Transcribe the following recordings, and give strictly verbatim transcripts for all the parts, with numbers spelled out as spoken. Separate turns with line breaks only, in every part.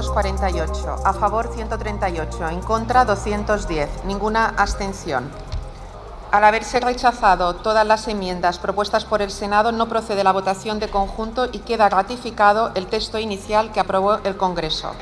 doscientos cuarenta y ocho, a favor ciento treinta y ocho, en contra doscientos diez, ninguna abstención. Al haberse rechazado todas las enmiendas propuestas por el Senado, no procede la votación de conjunto y queda ratificado el texto inicial que aprobó el Congreso.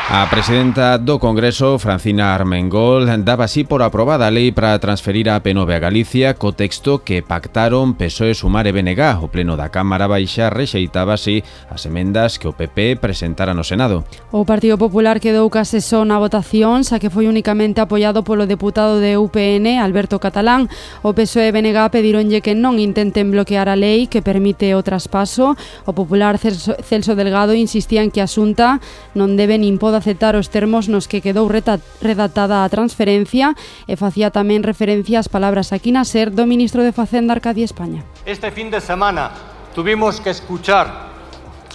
A presidenta do Congreso, Francina Armengol, daba así por aprobada a lei para transferir a P nove a Galicia co texto que pactaron P S O E, Sumar e B N G. O pleno da Cámara Baixa rexeitaba así as emendas que o P P presentara no Senado.
O Partido Popular quedou case só na votación, xa que foi únicamente apoiado polo deputado de U P N, Alberto Catalán. O P S O E e B N G pedironlle que non intenten bloquear a lei que permite o traspaso. O popular Celso, Celso Delgado insistía en que a Xunta non debe nin pode aceptar os termos nos que quedou redactada a transferencia e facía tamén referencia ás palabras aquí na SER do ministro de Facenda, Arcadio España.
Este fin de semana tuvimos que escuchar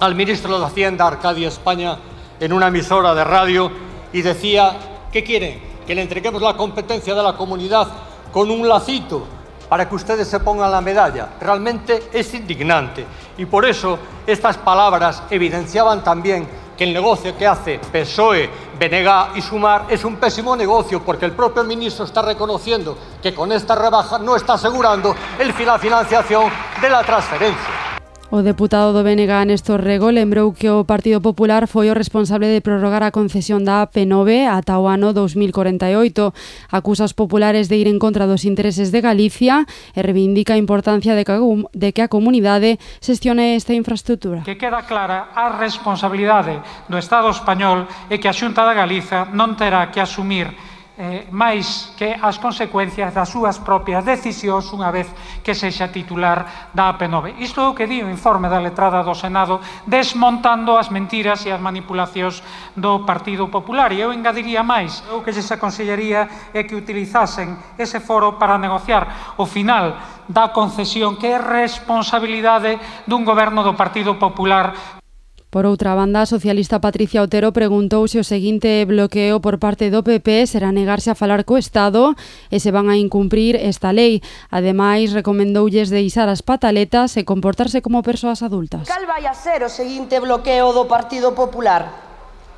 al ministro de Hacienda, Arcadio España, en una emisora de radio y decía, ¿qué quieren? Que le entreguemos la competencia de la comunidad con un lacito para que ustedes se pongan la medalla. Realmente es indignante y por eso estas palabras evidenciaban también que el negocio que hace P S O E, B N G y Sumar es un pésimo negocio porque el propio ministro está reconociendo que con esta rebaja no está asegurando el, la financiación de la transferencia.
O deputado do B N G, Néstor Rego, lembrou que o Partido Popular foi o responsable de prorrogar a concesión da P nove ata o ano dos mil corenta e oito. Acusa os populares de ir en contra dos intereses de Galicia e reivindica a importancia de que, de que a comunidade xestione esta infraestructura.
Que queda clara a responsabilidade do Estado español e que a Xunta da Galiza non terá que asumir Eh, máis que as consecuencias das súas propias decisións unha vez que sexa titular da P nove. Isto é o que di o informe da letrada do Senado, desmontando as mentiras e as manipulacións do Partido Popular. E eu engadiría máis, o que lles aconsellaría é que utilizasen ese foro para negociar o final da concesión, que é responsabilidade dun goberno do Partido Popular.
Por outra banda, a socialista Patricia Otero preguntou se o seguinte bloqueo por parte do P P será negarse a falar co Estado e se van a incumprir esta lei. Ademais, recomendoulles deixar as pataletas e comportarse como persoas adultas.
Cal vai a ser o seguinte bloqueo do Partido Popular?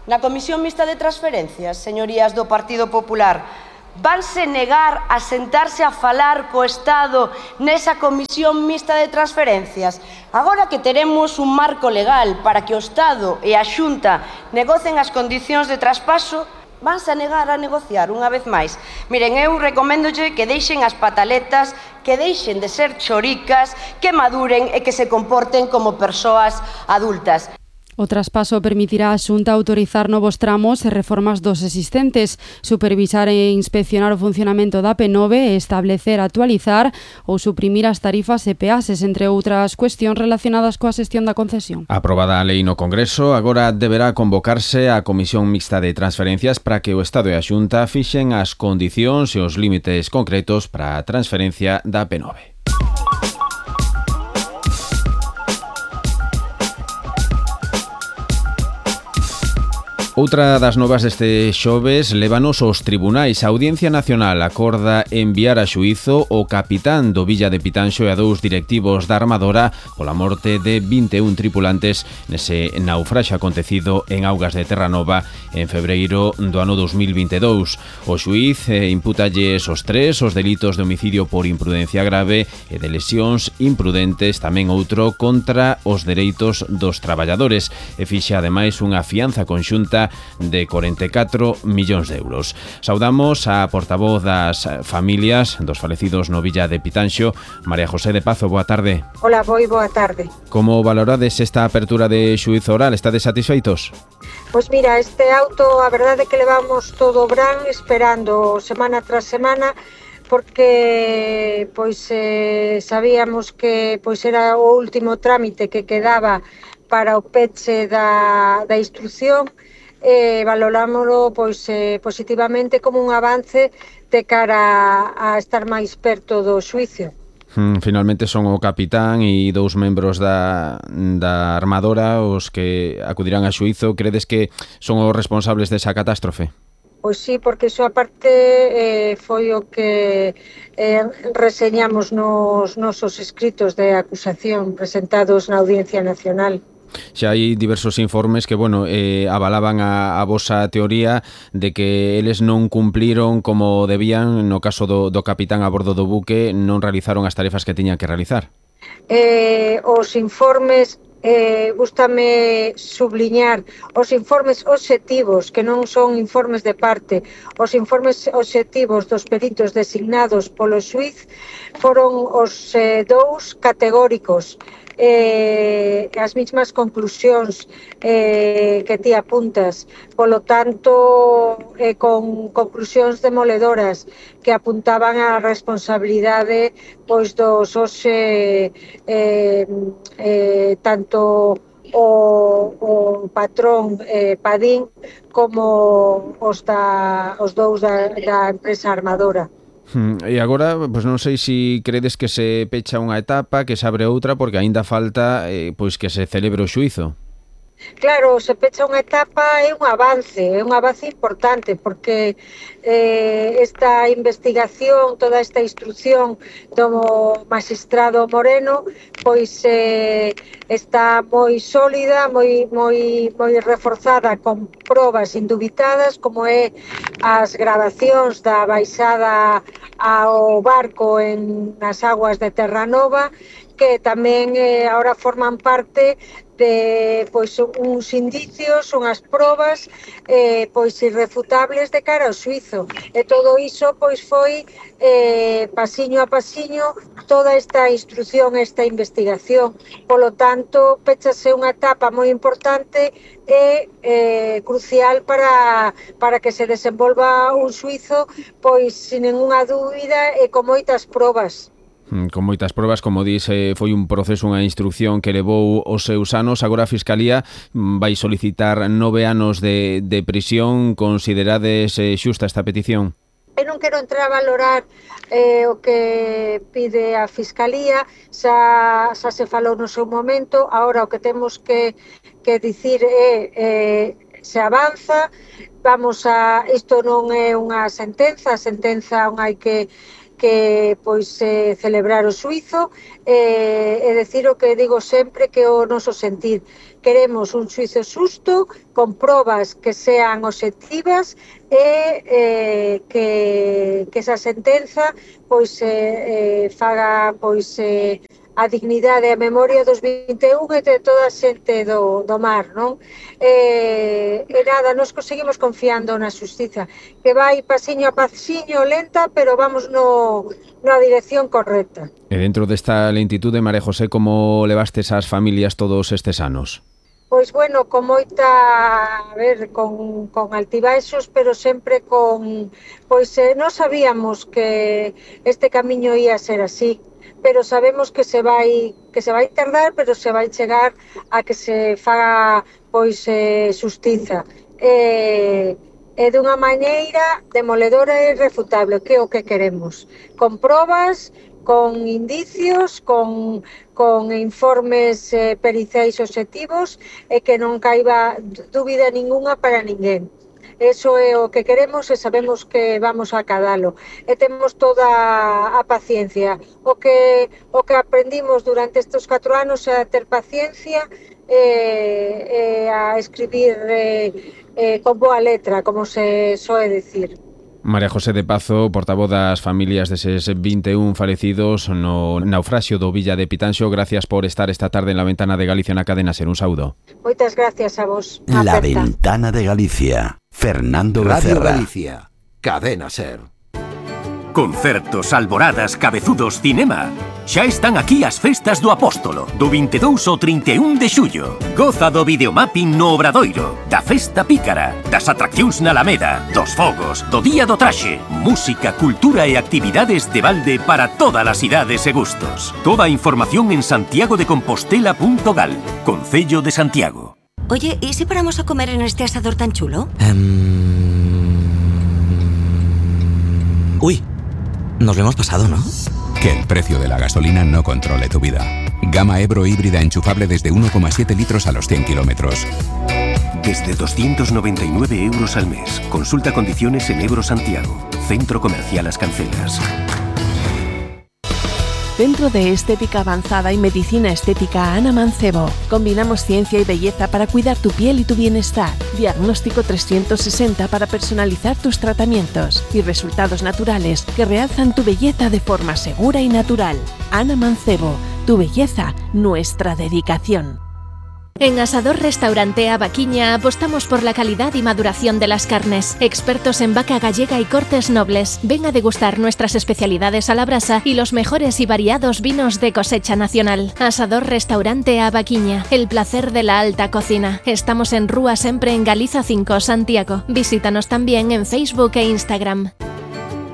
Na Comisión Mixta de Transferencias, señorías do Partido Popular, vanse negar a sentarse a falar co Estado nesa Comisión Mixta de Transferencias? Agora que teremos un marco legal para que o Estado e a Xunta negocen as condicións de traspaso, vanse a negar a negociar unha vez máis. Miren, eu recoméndolle que deixen as pataletas, que deixen de ser choricas, que maduren e que se comporten como persoas adultas.
O traspaso permitirá a Xunta autorizar novos tramos e reformas dos existentes, supervisar e inspeccionar o funcionamento da P nove e establecer, actualizar ou suprimir as tarifas e peaxes, entre outras cuestións relacionadas coa xestión da concesión.
Aprobada a lei no Congreso, agora deberá convocarse a Comisión Mixta de Transferencias para que o Estado e a Xunta fixen as condicións e os límites concretos para a transferencia da P nove. Outra das novas deste xoves lévanos aos tribunais. A Audiencia Nacional acorda enviar a xuízo o capitán do Villa de Pitanxo e a dous directivos da armadora pola morte de vinte e un tripulantes nese naufraxe acontecido en augas de Terranova en febreiro do ano dos mil vinte e dous. O xuíz eh, impútalles os tres os delitos de homicidio por imprudencia grave e de lesións imprudentes, tamén outro contra os dereitos dos traballadores, e fixa ademais unha fianza conxunta de corenta e catro millóns de euros. Saudamos a portavoz das familias dos falecidos no Villa de Pitanxo, María José de Pazo. Boa tarde.
Hola, moi boa tarde.
Como valorades esta apertura de xuízo oral? Estades satisfeitos?
Pois mira, este auto, a verdade é que levamos todo o verán esperando semana tras semana, porque pois eh, sabíamos que pois era o último trámite que quedaba para o peche da, da instrucción. E valorámoslo pois, eh, positivamente como un avance de cara a, a estar máis perto do xuízo.
Hmm, finalmente son o capitán e dous membros da, da armadora os que acudirán a xuízo. Credes que son os responsables desa catástrofe?
Pois sí, porque iso aparte eh, foi o que eh, reseñamos nos nosos escritos de acusación presentados na Audiencia Nacional.
Xa hai diversos informes que, bueno, eh, avalaban a, a vosa teoría de que eles non cumpliron como debían no caso do, do capitán a bordo do buque, non realizaron as tarefas que tiñan que realizar.
Eh, os informes Eh, gústame subliñar os informes obxectivos, que non son informes de parte, os informes obxectivos dos peritos designados polo xuíz foron os eh, dous categóricos, eh, as mesmas conclusións eh, que ti apuntas, polo tanto eh, con conclusións demoledoras que apuntaban a responsabilidade pois dos os eh, eh, eh, tanto o, o patrón eh, Padín como os, da, os dous da, da empresa armadora.
Hmm, e agora, pois non sei se credes que se pecha unha etapa, que se abre outra, porque aínda falta eh, pois que se celebre o xuízo.
Claro, se pecha unha etapa, é un avance, é un avance importante, porque eh, esta investigación, toda esta instrucción do magistrado Moreno, pois eh, está moi sólida, moi, moi, moi reforzada, con probas indubitadas, como é as gravacións da baixada ao barco en nas aguas de Terranova, que tamén eh, ahora forman parte de pois uns indicios, unhas probas eh, pois irrefutables de cara ao xuízo. E todo iso pois foi eh, pasiño a pasiño toda esta instrucción, esta investigación. Polo tanto, pechase unha etapa moi importante e eh, crucial para, para que se desenvolva un xuízo pois sin ninguna dúbida e con moitas probas.
Con moitas probas, como dis, foi un proceso, unha instrucción que levou os seus anos. Agora a Fiscalía vai solicitar nove anos de, de prisión. Considerades eh, xusta esta petición?
Eu non quero entrar a valorar eh, o que pide a Fiscalía, xa, xa se falou no seu momento. Agora o que temos que, que dicir é eh, se avanza, vamos a, isto non é unha sentenza, a sentenza non hai que que pois eh, celebrar o xuízo eh, e decir o que digo sempre, que o noso sentir. Queremos un xuízo xusto, con probas que sean obxectivas e eh, que, que esa sentenza pois eh, eh, faga pois eh, a dignidade e a memoria dos vinte e un e de toda a xente do, do mar, non? E, e nada, nos seguimos confiando na xustiza, que vai pasiño a pasiño, lenta, pero vamos no, na dirección correcta.
E dentro desta lentitude, María José, como levastes as familias todos estes anos?
Pois bueno, con moita, a ver, con, con altibaixos, pero sempre con, pois eh, non sabíamos que este camiño ia ser así, pero sabemos que se vai que se vai tardar, pero se vai chegar a que se faga pois eh, xustiza. E, e dunha maneira demoledora e irrefutable, que é o que queremos. Con probas, con indicios, con, con informes eh, periciais obxectivos e que non caiba dúbida ninguna para ninguén. Eso é o que queremos e sabemos que vamos a acadalo. E temos toda a paciencia. O que, o que aprendimos durante estes catro anos é a ter paciencia e, e a escribir eh, eh, con boa letra, como se soe decir.
María José de Pazo, portavoz das familias deses vinte e un falecidos no naufraxio do Villa de Pitanxo, gracias por estar esta tarde en La Ventana de Galicia na cadena SER. Un saúdo.
Moitas gracias a vos.
La Ventana de Galicia. Fernando
Radio
Becerra.
Galicia. Cadena SER.
Concertos, alboradas, cabezudos, cinema. Xa están aquí as festas do Apóstolo, do vinte e dous ao trinta e un de xullo. Goza do videomapping no Obradoiro, da festa pícara, das atraccións na Alameda, dos fogos, do Día do Traxe, música, cultura e actividades de balde para todas as idades e gustos. Toda a información en santiago de compostela punto gal, Concello de Santiago.
Oye, ¿y si paramos a comer en este asador tan chulo?
Um... Uy, nos lo hemos pasado, ¿no?
Que el precio de la gasolina no controle tu vida. Gama Ebro híbrida enchufable desde uno coma siete litros a los cien kilómetros.
Desde doscientos noventa y nueve euros al mes. Consulta condiciones en Ebro Santiago. Centro Comercial Las Cancelas.
Centro de Estética Avanzada y Medicina Estética Ana Mancebo. Combinamos ciencia y belleza para cuidar tu piel y tu bienestar. Diagnóstico trescientos sesenta para personalizar tus tratamientos y resultados naturales que realzan tu belleza de forma segura y natural. Ana Mancebo, tu belleza, nuestra dedicación.
En Asador Restaurante Avaquiña apostamos por la calidad y maduración de las carnes. Expertos en vaca gallega y cortes nobles. Ven a degustar nuestras especialidades a la brasa y los mejores y variados vinos de cosecha nacional. Asador Restaurante Avaquiña, el placer de la alta cocina. Estamos en Rúa Sempre en Galiza cinco, Santiago. Visítanos también en Facebook e Instagram.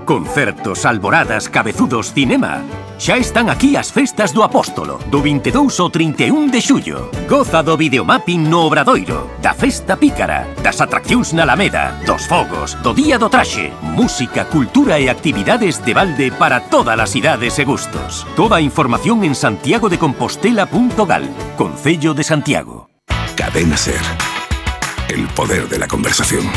Concertos, alboradas, cabezudos, cinema. Xa están aquí as festas do Apóstolo, do vinte e dous ao trinta e un de xullo. Goza do videomapping no Obradoiro, da festa pícara, das atraccións na Alameda, dos fogos, do Día do Traxe, música, cultura e actividades de balde para todas as idades e gustos. Toda a información en santiago de compostela punto gal, Concello de Santiago.
Cadena Ser. El poder de la conversación.